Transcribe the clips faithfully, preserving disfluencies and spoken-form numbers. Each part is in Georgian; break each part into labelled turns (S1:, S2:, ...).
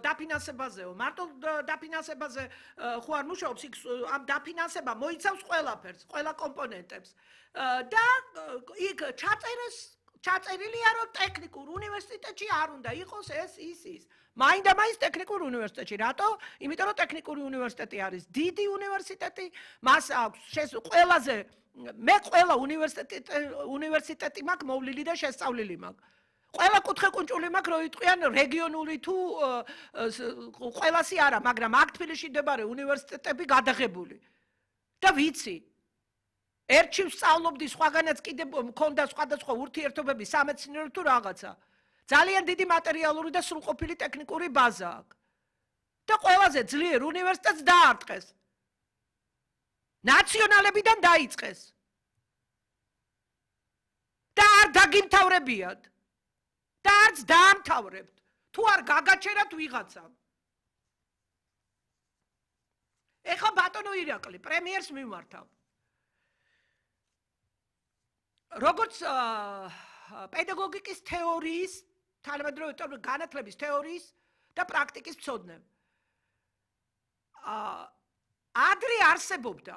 S1: დაფინანსებაზეო, მარტო დაფინანსებაზე ხო არ მუშაობს, იქ ამ დაფინანსება მოიცავს ყველაფერს, ყველა კომპონენტებს. და იქ ჩაწერეს ჩაწერილია, რომ ტექნიკურ უნივერსიტეტში არ უნდა იყოს ეს ის ის. მაინდა-მაინც ტექნიკურ უნივერსიტეტში. რატო? იმიტომ რომ ტექნიკური უნივერსიტეტი არის დიდი უნივერსიტეტი, მას აქვს ყველაზე მე ყველა უნივერსიტეტი უნივერსიტეტი მაქვს მოვლილი და შესწავლილი მაქვს. ყველა კუთხე-კუნჭული მაქვს, რო იტყვიან რეგიონული თუ ყველასი არა, მაგრამ აქ თბილისში მდებარე უნივერსიტეტები გადაღებული. და ვიცი. ერთში ვსწავლობდი, სხვაგანაც კიდე მქონდა სხვადასხვა ურთიერთობები, სამეცნიერო თუ რაღაცა. ძალიან დიდი მატერიალური და სრულყოფილი ტექნიკური ბაზა აქვს. და ყველაზე ძლიერ უნივერსიტეტს დაარტყეს. ნაციონალებიდან დაიწყეს. და არ დაგიმთავრებიათ. და არც დაამთავრებთ. თუ არ გაგაჩერათ ვიღაცამ. ეხლა ბატონო ირაკლი, პრემიერს მიმართავ. როგორც პედაგოგიკის თეორიის, თანამედროვე განათლების თეორიის და პრაქტიკის მცოდნე. ადრე არსებობდა,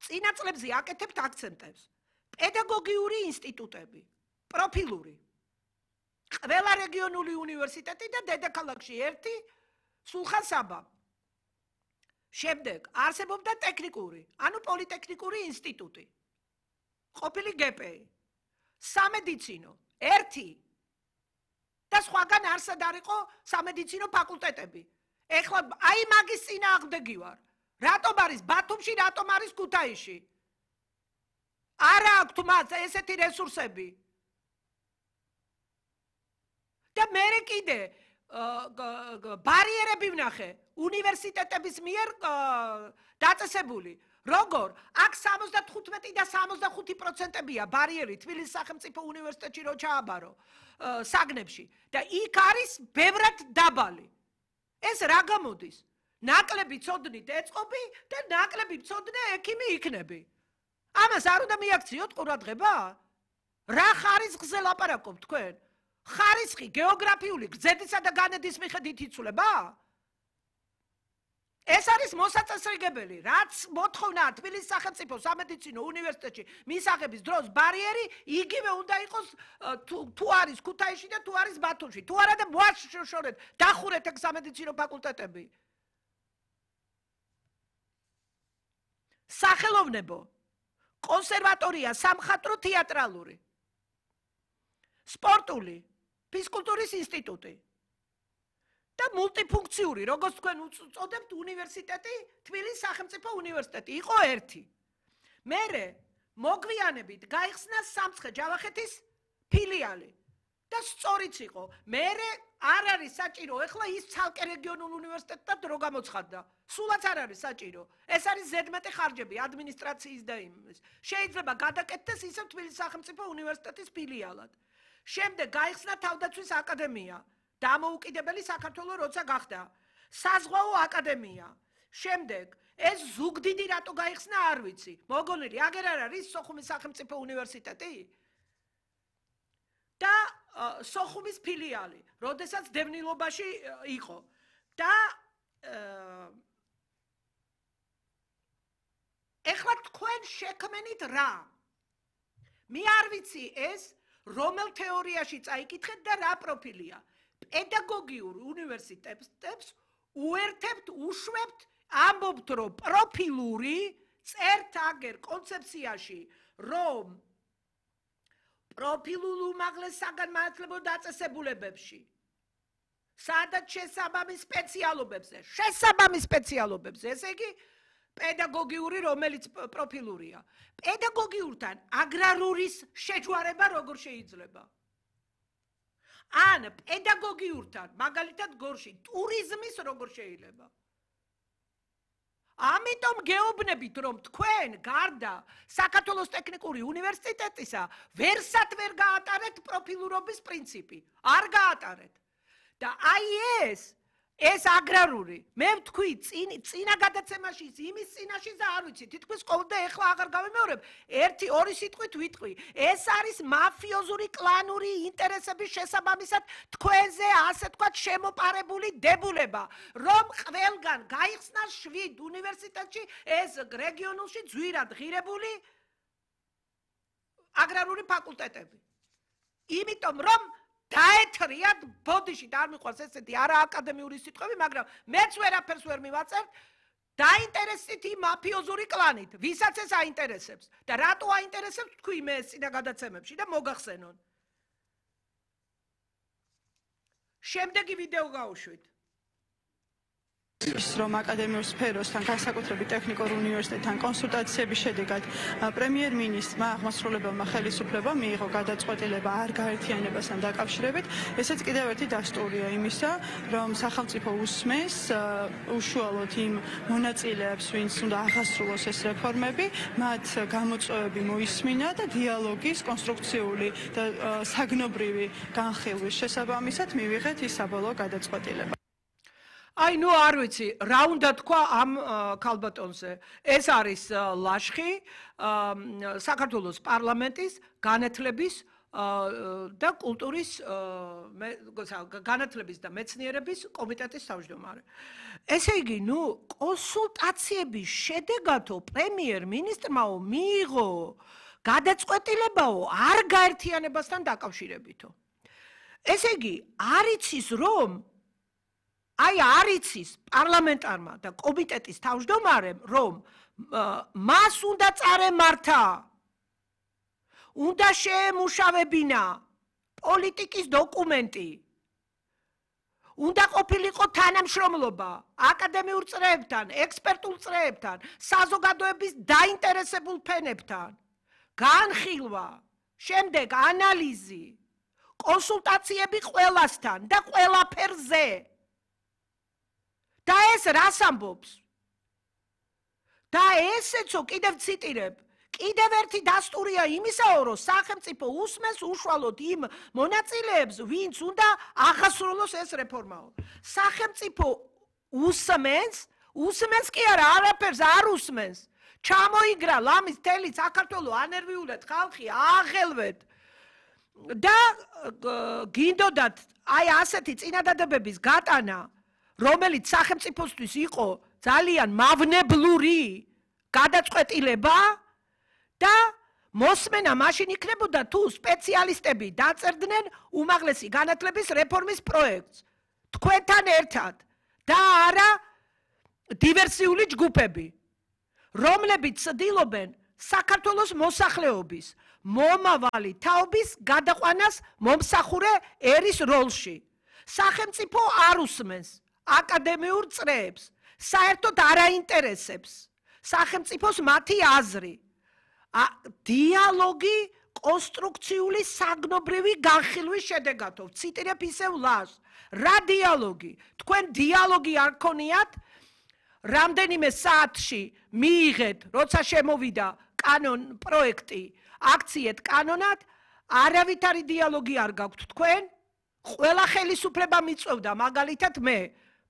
S1: წინა წლებზე აკეთებთ აქცენტებს, პედაგოგიური ინსტიტუტები, პროფილური. ყველა რეგიონული უნივერსიტეტი და დედაქალაქში ერთი, სულხან საბა. შემდეგ არსებობდა ტექნიკური, ანუ პოლიტექნიკური ინსტიტუტი. ყოფილი გპ-ი, სამედიცინო, ერთი და სხვაგან არსად არ იყო სამედიცინო ფაკულტეტები. ეხლა აი მაგის წინააღმდეგი ვარ. რატომ არის ბათუმში, რატომ არის ქუთაისში? არა აქვთ მათ ესეთი რესურსები. და მე კიდე ბარიერები ვნახე უნივერსიტეტების მიერ დაწესებული. როგორ? აქ სამოცდათხუთმეტი და სამოცდახუთი პროცენტებია ბარიერი თბილისის სახელმწიფო უნივერსიტეტში რო ჩააბარო საგნებში და იქ არის ბევრად დაბალი. ეს რა გამოდის? ნაკლები ცოდნით ეწყობი და ნაკლები ცოდნე ექიმი იქნები. ამას არ უნდა მიაქციოთ ყურადღება? რა ხარისხზე ლაპარაკობთ თქვენ? ხარისხი გეოგრაფიული გრძედისა და განედის მიხედვით იცვლება? ეს არის მოსაწესრიგებელი, რაც მოთხოვნა თბილისის სახელმწიფო სამედიცინო უნივერსიტეტში მისაღების დროს ბარიერი იგივე უნდა იყოს თუ არის ქუთაისში და თუ არის ბათუმში. თუ არა და მოაშორეთ, დახურეთ ეგ სამედიცინო ფაკულტეტები. სახელოვნებო, კონსერვატორია, სამხატვრო თეატრალური, სპორტული, ფიზკულტურის ინსტიტუტი. და მულტიფუნქციური, როგორც თქვენ უწოდებთ უნივერსიტეტი, თბილისის სახელმწიფო უნივერსიტეტი, იყო ერთი. მერე მოგვიანებით გაიხსნა სამცხე-ჯავახეთის ფილიალი და სწორიც იყო. მერე არ არის საჭირო, ეხლა ის ცალკე რეგიონულ უნივერსიტეტად რო გამოცხადდა. სულაც არ არის საჭირო. ეს არის ზედმეტი ხარჯები ადმინისტრაციის და იმის. შეიძლება გადაკეთდეს ისევ თბილისის სახელმწიფო უნივერსიტეტის ფილიალად. შემდეგ გაიხსნა თავდაცვის აკადემია. დამოუკიდებელი საქართველო როცა გახდა. საზღვაო აკადემია. შემდეგ ეს ზუგდიდი რატო გაიხსნა არ ვიცი. მოგონილი აგერ არ არის სოხუმის სახელმწიფო უნივერსიტეტი? და სოხუმის ფილიალი, როდესაც დევნილობაში იყო. და ეხლა თქვენ შექმენით რა? მე არ ვიცი ეს რომელ თეორიაში წაიკითხეთ და რა პროფილია. პედაგოგიურ უნივერსიტეტებს უერთებთ, უშვებთ, ამბობთ, რომ პროფილური წერთ აგერ კონცეფციაში, რომ პროფილულ უმაღლეს საგანმანათლებლო დაწესებულებებში, სადაც შესაბამის სპეციალობებზე, შესაბამის სპეციალობებზე, ესე იგი პედაგოგიური, რომელიც პროფილურია. პედაგოგიურთან აგრარურის შეჯვარება როგორ შეიძლება? ან პედაგოგიურთან, მაგალითად გორში, ტურიზმის როგორ შეიძლება? ამიტომ გეუბნებით, რომ თქვენ გარდა საქართველოს ტექნიკური უნივერსიტეტისა ვერსად ვერ გაატარეთ პროფილურობის პრინციპი. არ გაატარეთ. და აი ეს ეს აგრარული მე ვთქვი წინა გადაცემაში იმის წინაშე და არ ვიცი თითქოს ყოველდღე ეხლა აღარ გავიმეორებ ერთი ორი სიტყვით ვიტყვი ეს არის მაფიოზური კლანური ინტერესების შესაბამისად თქვენზე ასე თქვა შემოპარებული დებულება რომ ყველგან გაიხსნა შვიდ უნივერსიტეტში ეს რეგიონულში ძვირად ღირებული აგრარული ფაკულტეტები იმიტომ რომ დაეთრიათ ბოდიში და არ მიყვარს ესეთი არა აკადემიური სიტყვები, მაგრამ მეც ვერაფერს ვერ მივაწერთ, დაინტერესდით იმ მაფიოზური კლანით, ვისაც ეს აინტერესებს და რატო აინტერესებს თქვი მე წინა გადაცემებში და მოგახსენონ. შემდეგი ვიდეო გავუშვით.
S2: რომ აკადემიურ სფეროსთან, განსაკუთრებით ტექნიკურ უნივერსიტეტთან კონსულტაციების შედეგად პრემიერ-მინისტრმა აღმასრულებელმა ხელისუფლებამ მიიღო გადაწყვეტილება არ გაერთიანებასთან დაკავშირებით. ესეც კიდევ ერთი დასტურია იმისა, რომ სახელმწიფო უსმენს უშუალოდ იმ მონაწილეებს, ვინც უნდა აღასრულოს ეს რეფორმები, მათ გამოწვევები მოისმინა და დიალოგის კონსტრუქციული და საგნობრივი განხილვის შესაბამისად მივიღეთ ის საბოლოო გადაწყვეტილება.
S1: აი ნუ არ ვიცი რა უნდა თქვა ამ ქალბატონზე ეს არის ლაშხი საქართველოს პარლამენტის განათლების და კულტურის განათლების და მეცნიერების კომიტეტის თავმჯდომარე ესე იგი ნუ კონსულტაციების შედეგადო პრემიერ-მინისტრმაო მიიღო გადაწყვეტილებაო არ გაერთიანებასთან დაკავშირებითო ესე იგი არ იცის რომ აი არ იცის პარლამენტარმა და კომიტეტის თავმჯდომარემ რომ მას უნდა წარემართა უნდა შეემუშავებინა პოლიტიკის დოკუმენტი უნდა ყოფილიყო თანამშრომლობა აკადემიურ წრეებთან ექსპერტულ წრეებთან საზოგადოების დაინტერესებულ ფენებთან განხილვა შემდეგ ანალიზი კონსულტაციები ყველასთან და ყველაფერზე და ეს რას ამბობს? და ესეცო კიდევ ციტირებ, კიდევ ერთი დასტურია იმისაო, რომ სახელმწიფო უსმენს უშუალოდ იმ მონაწილეებს, ვინც უნდა აღასრულოს ეს რეფორმაო. სახელმწიფო უსმენს, უსმენს კი არა, არაფერს არ უსმენს. ჩამოიგრა ლამის თელი საქართველო ანერვიულად ხალხი აღელვეთ. და გინდოდათ აი ასეთი წინადადებების გატანა რომელიც სახელმწიფოსთვის იყო ძალიან მავნებლური გადაწყვეტილება და მოსმენა მაშინ იქნებოდა თუ სპეციალისტები დაწერდნენ უმაღლესი განათლების რეფორმის პროექტს თქვენთან ერთად და არა დივერსიული ჯგუფები რომლებიც ცდილობენ საქართველოს მოსახლეობის მომავალი თაობის გადაყვანას მომსახურე ერის როლში სახელმწიფო არ უსმენს აკადემიურ წრეებს საერთოდ არ აინტერესებს სახელმწიფოს მათი აზრი დიალოგი კონსტრუქციული საგნობრივი განხილვის შედეგადო ციტირებ ისევ ლას რა დიალოგი თქვენ დიალოგი არ ქონიათ რამდენიმე საათში მიიღეთ როცა შემოვიდა კანონ პროექტი აქციეთ კანონად არავითარი დიალოგი არ გაქვთ თქვენ ყველა ხელისუფლება მიწევდა მაგალითად მე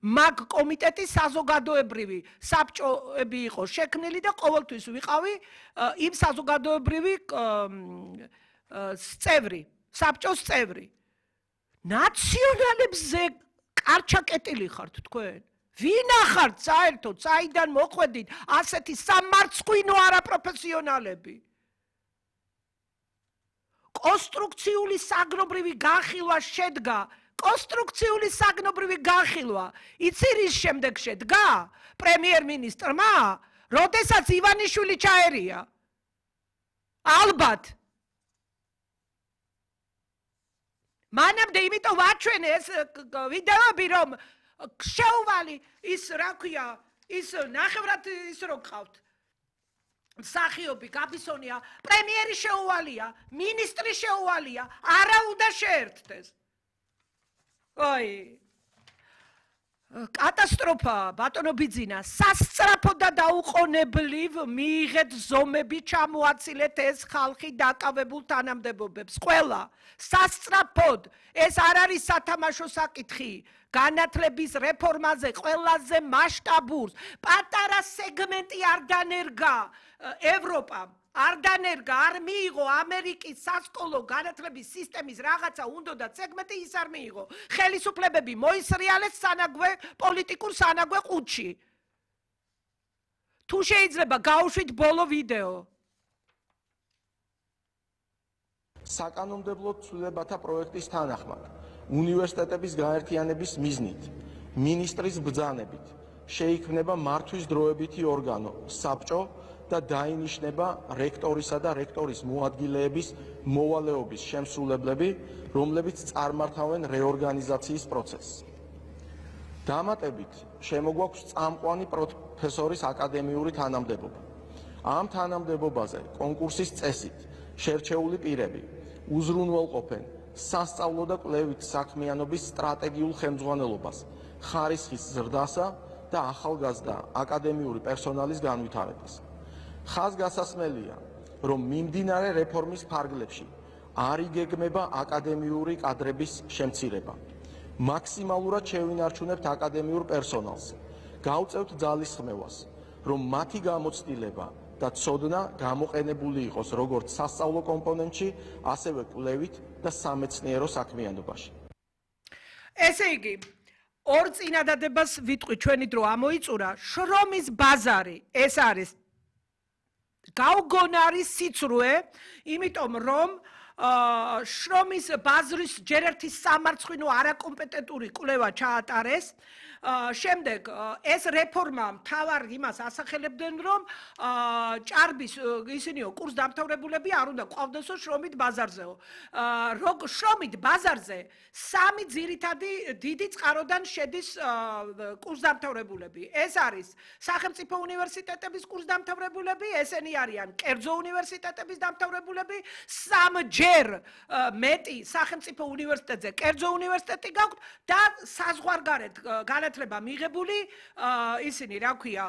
S1: მაგ კომიტეტის საზოგადოებრივი საბჭოები იყო შექმნილი და ყოველთვის ვიყავი იმ საზოგადოებრივი წევრი, საბჭოს წევრი. ნაციონალებზე კარჩაკეტილი ხართ თქვენ? ვინ ახართ საერთოდ, საიდან მოხვედით ასეთი სამარცხვინო არაპროფესიონალები? კონსტრუქციული საგნობრივი განხილვა შედგა კონსტრუქციული საგნობრივი განხილვა იცი რის შემდეგ შედგა პრემიერ-მინისტრმა როდესაც ივანიშვილი ჩაერია ალბათ მანამდე იმიტომ ვაჩვენე ეს ვიდეოები რომ შეუვალი ის რა ქვია ის ნახევრად ის რო გყავთ მსახიობი გაბისონია პრემიერი შეუვალია მინისტრი შეუვალია არა უნდა შეერთდეს აი კატას კატასტროფა ბატონო ბიძინა სასწრაფო და დაუყოვნებლივ მიიღეთ ზომები ჩამოაცილეთ ეს ხალხი დაკავებულ თანამდებობებს ყველა სასწრაფოდ ეს არ არის სათამაშო საკითხი განათლების რეფორმაზე ყველაზე მასშტაბურს პატარა სეგმენტი არ დანერგა ევროპამ არ დანერგა არ მიიღო ამერიკის სასკოლო განათლების სისტემის რაღაცა უნდოდა სეგმენტი ის არ მიიღო ხელისუფლებები მოისრიალეს სანაგვე პოლიტიკურ სანაგვე ყუთში თუ შეიძლება გავუშვით ბოლო ვიდეო
S3: საკანონმდებლო ცვლილებათა პროექტის თანახმად უნივერსიტეტების გაერთიანების მიზნით მინისტრის ბრძანებით შეიქმნება მართვის დროებითი ორგანო საბჭო და დაინიშნება რექტორისა და რექტორის მოადგილეების მოვალეობის შემსრულებლები, რომლებიც წარმართავენ რეორგანიზაციის პროცესს. დამატებით შემოგვაქვს წამყვანი პროფესორის აკადემიური თანამდებობა. ამ თანამდებობაზე კონკურსის წესით შერჩეული პირები უზრუნველყოფენ სასწავლო და კვლევით საქმიანობის სტრატეგიულ ხელმძღვანელობას, ხარისხის ზრდასა და ახალგაზრდა აკადემიური პერსონალის განვითარებას. ხაზგასასმელია, რომ მიმდინარე რეფორმის ფარგლებში არ იგეგმება აკადემიური კადრების შემცირება. მაქსიმალურად შევინარჩუნებთ აკადემიურ პერსონალს. გავწევთ ძალისხმევას, რომ მათი გამოცდილება და ცოდნა გამოყენებული იყოს როგორც სასწავლო კომპონენტში, ასევე კვლევით და სამეცნიერო საქმიანობაში.
S1: ესე იგი, ორ წინადადებას ვიტყვი ჩვენი დრო ამოიწურა, შრომის ბაზარი ეს არის გაუგონარი სიცრუე, იმიტომ რომ შრომის ბაზრის ჯერ ერთი სამარცხვინო არაკომპეტენტური კვლევა ჩაატარეს. შემდეგ ეს რეფორმა მთავარ იმას ასახელებდნენ, რომ ჭარბის ისინიო კურს დამთავრებულები არ უნდა ყვავდესო შრომით ბაზარზეო. შრომით ბაზარზე სამი ძირითადი დიდი წყაროდან შედის კურს დამთავრებულები. ეს არის სახელმწიფო უნივერსიტეტების კურს დამთავრებულები, ესენი არიან კერძო უნივერსიტეტების დამთავრებულები, სამჯერ მეტი სახელმწიფო უნივერსიტეტზე კერძო უნივერსიტეტი გაქვთ და საზღვარგარეთ განათლება მიღებული ისინი რა ქვია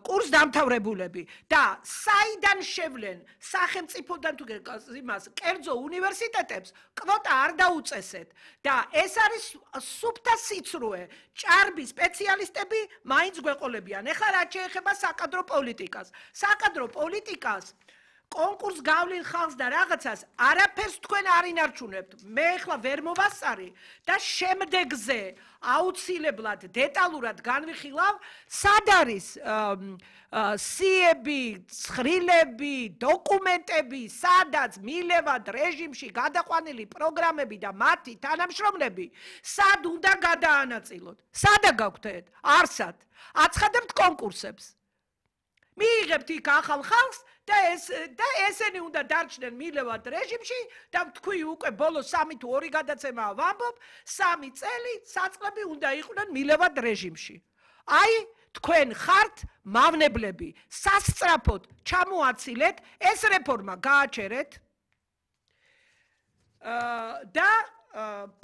S1: კურს დამთავრებულები და საიდან შევლენ სახელმწიფოდან თუ იმას კერძო უნივერსიტეტებს კვოტა არ დაუწესეთ და ეს არის სუფთა სიცრუე ჭარბი სპეციალისტები მაინც გვეყოლებიან. ეხლა რაც შეეხება საკადრო პოლიტიკას საკადრო პოლიტიკას კონკურს გავლილ ხალხს და რაღაცას არაფერს თქვენ არ ინარჩუნებთ. მე ახლა ვერ მოვასწარი და შემდეგზე აუცილებლად დეტალურად განვიხილავ, სად არის სიები, ცხრილები, დოკუმენტები, სადაც მილევად რეჟიმში გადაყვანილი პროგრამები და მათი თანამშრომლები, სად უნდა გადაანაწილოთ? სადა გაგვთეთ? არსად. აცხადებთ კონკურსებს. მიიღებთ იქ ახალ ხალხს და ეს და ესენი უნდა დარჩნენ მილევად რეჟიმში და თქვი უკვე ბოლო სამი თუ ორი გადაცემა ვამბობ, სამი წელი საწყლები უნდა იყვნენ მილევად რეჟიმში. აი, თქვენ ხართ მავნებლები, სასწრაფოდ ჩამოაცილეთ, ეს რეფორმა გააჩერეთ და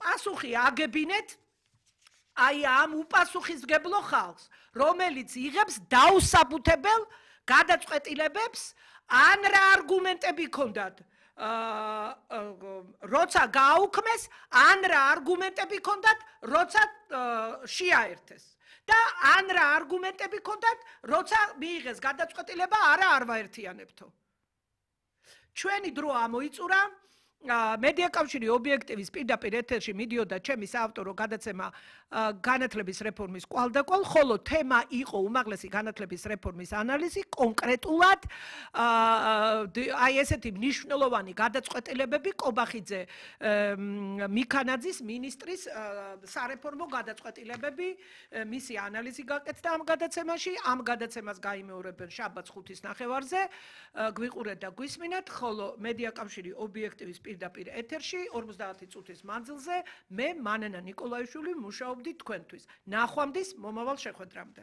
S1: პასუხი აგებინეთ აი ამ უპასუხისმგებლო ხალხს, რომელიც იღებს დაუსაბუთებელ გადაწყვეტილებებს, ან რა არგუმენტები ქონდათ, როცა გააუქმეს, ან რა არგუმენტები ქონდათ, როცა შეაერთეს. და ან რა არგუმენტები ქონდათ, როცა მიიღეს გადაწყვეტილება, არა არ ვაერთიანებთო. ჩვენი დრო ამოიწურა. მედია კავშირი ობიექტივის პირდაპირ ეთერში მიდიოდა ჩემი საავტორო გადაცემა განათლების რეფორმის კვალდაკვალ, ხოლო თემა იყო უმაღლესი განათლების რეფორმის ანალიზი, კონკრეტულად აი ესეთი მნიშვნელოვანი გადაწყვეტილებები კობახიძე მიქანაძის მინისტრის სარეფორმო გადაწყვეტილებები, მისი ანალიზი გაკეთდა ამ გადაცემაში, ამ გადაცემას გაიმეორებენ შაბათს ხუთის ნახევარზე, გვიყურეთ და გვისმინეთ, ხოლო მედია კავშირი ობიექტივის პირდაპირ ეთერში ორმოცდაათი წუთის მანძილზე მე მანენა ნიკოლაიშვილი მუშაობდი თქვენთვის. ნახვამდის მომავალ შეხვედრამდე.